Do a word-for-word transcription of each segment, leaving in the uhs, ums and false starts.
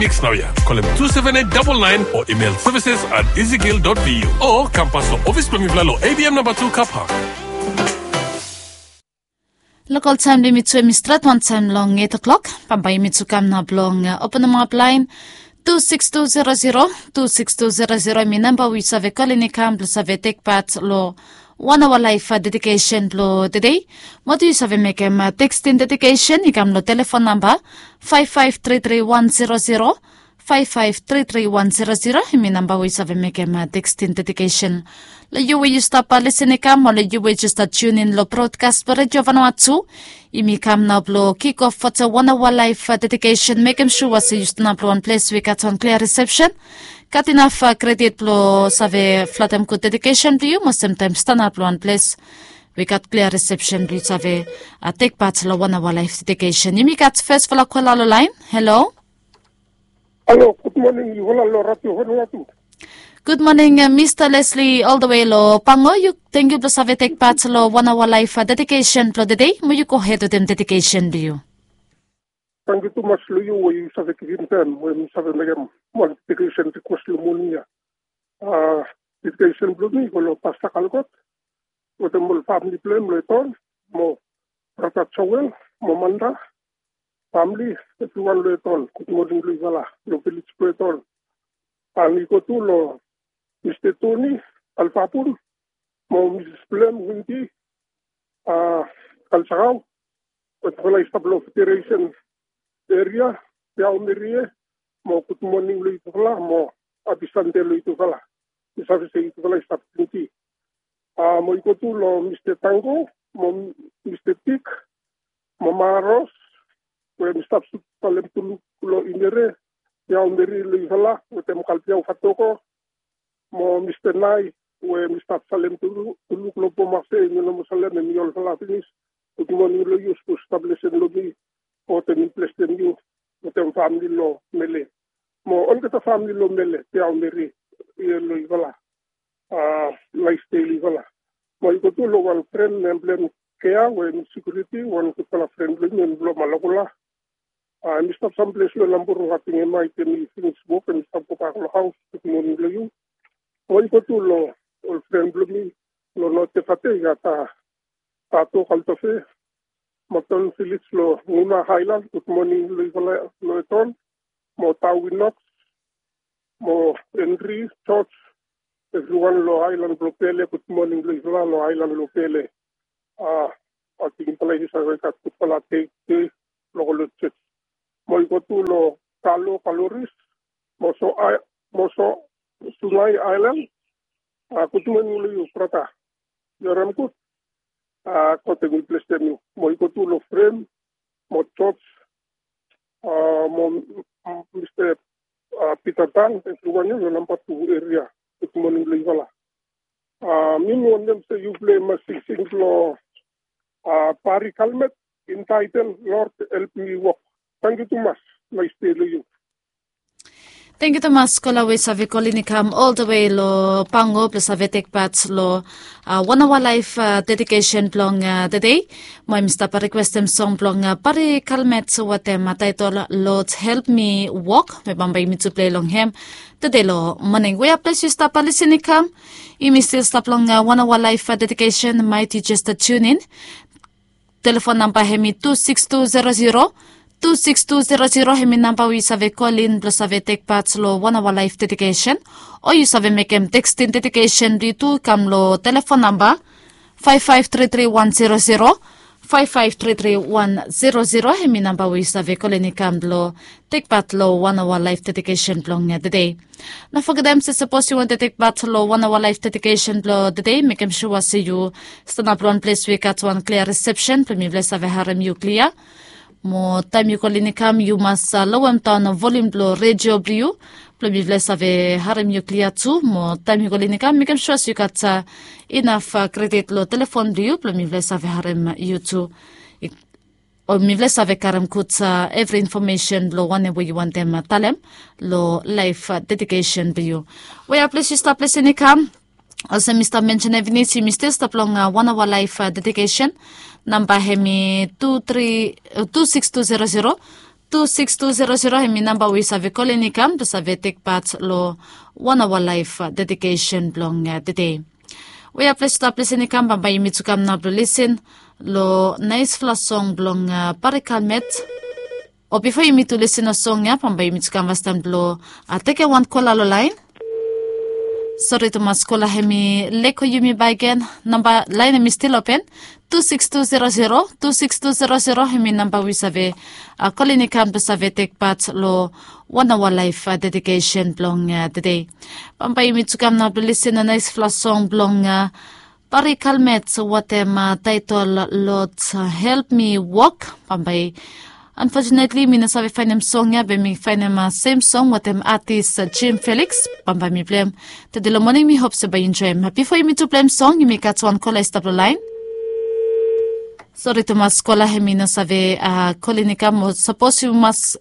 Text naoia. Kolem two seven eight double nine o email services at ezekiel dot v u o kam pas long ofis blong mifala long A B M namba two car park. Lokal taem blong yumi tu hemi stret wantaem long eight o'clock. Bambae yumi tu kam nao blong openem ap laen two six two zero zero, two six two zero zero hemi namba we yu save kolin i kam blong save tek pat long wan aoa laef dedikesen blong tede. Mo tu yu save mekem tekstin dedikesen i kam long telefon namba five five three three one zero zero, five five three three one zero zero hemi namba we yu save mekem tekstin dedikesen. Long yu we yu stap lisin i kam o long yu we yu stap tiun in long brodkas blong redio vanua tu, yumi kam nao blong kik of fo wan aoa laef dedikesen. Mekem sua se yu stanap long wan ples we i gat wan klia risepsen, gat inaf kredit blong save flatem gud dedikesen blong yu mo semtaem stanap long wan ples we i gat klia risepsen blong yu save tek pat long wan aoa laef dedikesen. Yumi gat fesfala kola long laen. Halo. Halo, gud moning yufala long radio vanua tu. Gud moning, mista Lesli, oldewe long Pango. Yu, tangkiu blong save tek pat long wan aoa laef dedikesen blong tede. Mo yu gohed wetem dedikesen blong yu. Tangkiu tumas long yu we yu save givim taem we mi save mekem wan dedikesen rikwes long moning ya. Dedikesen blong mi i go long pasta Kalkot wetem ol famili blong hem long Eton, mo brata Joel, mo Manda famili, evriwan long Eton. Gud moning long yufala long vilej blong Eton. An i go tu long mista Toni Alfabun mo misis blong hem Windi Kalsakau, wetem yufala i stap long Federesen eria, Tiaomerie, mo gud moning long yufala mo hapi Sande long yufala. Mi save se yufala i stap plenty. Mo i go tu long mista Tango mo mista Tik mo Maros we mi stap sut salem tuluk long Imere, Tiaomerie long yufala wetem Kalbiao Fatoko, mo mista Nai we mi stap salem tuluk long Bomase, mi no moa salem, hemi olfala finis. Gud moning long yu, sapos yu stap lisin long mi, God hemi blesem yu wetem famili long Mele mo olgeta famili long Mele, Tiaomerie, long yufala. Naes dei long yufala. Mo i go tu long wan fren nem blong hem Kea we hemi sekiuriti, wan gudfala fren blong mi, hem blong Malakula. Hemi stap samples long Namburu, ating hemia i finis wok, hemi stap gobak long haos. Gud moning long yu. Mo i go tu long ol fren blong mi long North Efate, i gat Tato Kaltofe, Makton Felix long Nguna Aelan, gud moning long yufala long Eton, mo Tawi Noks, mo Henry, George, evriwan long aelan blong Pele, gud moning long yufala long aelan blong Pele. Ating yufala i save gat gudfala dei tede long go long jos. Mo i go tu long Kalo Kaloris mo so, mo so Sunai Aelan. Gud moning long yu brata, yu harem gud. God hemi blesem yu. Mo i go tu long Frem mo Jos mo mista Pita Tan, evriwan ya long namba tu eria. Gud moning long yufala. Mi mi wantem se yu pleim singsing blong Pari Kalmet, intaetel Lord Help Mi Walk. Tangkiu tumas. Naes dei long yu. Tangkiu tumas kola we yu save kolin i kam oldewe long Pango blong save tek pat long wan aoa laef dedikesen blong tede. Mo hemi stap rikwestem song blong Pari Kalmet wetem taetol Lord Help Mi Walk, we bambae yumi tu plei long hem tede long moning. Wea ples yu stap lisin i kam, yumi stil stap long wan aoa laef dedikesen. Maet yu jes tiun in. Telefon namba hemi tu sikis tu zero zero, tu sikis tu zero zero hemi namba we yu save kolin blong save tek pat long wan aoa laef dedikesen. O yu save mekem tekstin dedikesen blong yu tu i kam long telefon namba faef faef tri tri wan zero zero, faef faef tri tri wan zero zero hemi namba we yu save kolin i kam blong tek pat long wan aoa laef dedikesen blong tede. No fogetem se sapos yu wantem tek pat long wan aoa laef dedikesen blong tede, mekem sua se yu stanap long wan ples we i gat wan klia risepsen blong mifala i save harem yu klia. Mo taem yu kolin i kam yu mas lowem daon volium blong redio blong yu blong mifala i save harem yu klia tu. Mo taem yu kolin i kam mekem sua se yu gat inaf kredit long telefon blong yu blong mifala i save harem yu tu. O mifala i save karem gud evri infomesen blong wanem we yu wantem talem long laef dedikesen blong yu. Wea ples yu stap lisin i kam, olsem mi stap mensenem finis, yumi stil stap long wan aoa laef dedikesen. Namba hemi tu tri, tu sikis tu zero zero, tu siks tu zero zero, hemi namba we yu save kolin i kam blong save tek pat long wan aoa laef dedikesen blong tede. We ya ples stap lesen i kam, bambae yumi tu kam nao blong lesen long naesfala song blong Parikalmet. O bifo yumi tu lesen long song ya, bambae yumi tu kam fastaem blong tekem wan kola long laen. Sori tumas, kola hemi leko yumi bakegen. Namba laen hemi stil open. Tu siks tu zero zero, tu siks tu zero zero, hemi namba we yu save kolin i kam blong save tek pat long wan aoa laef dedikesen blong tede. Bambae yumi tu kam nao blong lesen long naesfala song blong Parikalmet wetem taetol Lord, Help Mi Walk. Bambae, anfotunetli mi no save faenem song ya, be mi faenem sem song wetem atis Jim Felix. Bambae mi pleim tede long moning. Mi hop se bae yu enjoem. Bifo yumi tu pleim song, yumi gat wan kola i stap long laen. Sori tumas, kola hemi no save kolin i kam. O sapos yu mas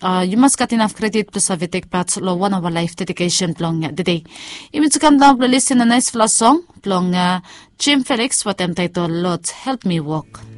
gat inaf kredit blong save tek pat long wan aoa laef dedikesen blong tede. Yumi tu kam nao blong lesen long naesfala song blong Jim Felix wetem taetol Lord, Help Mi Walk.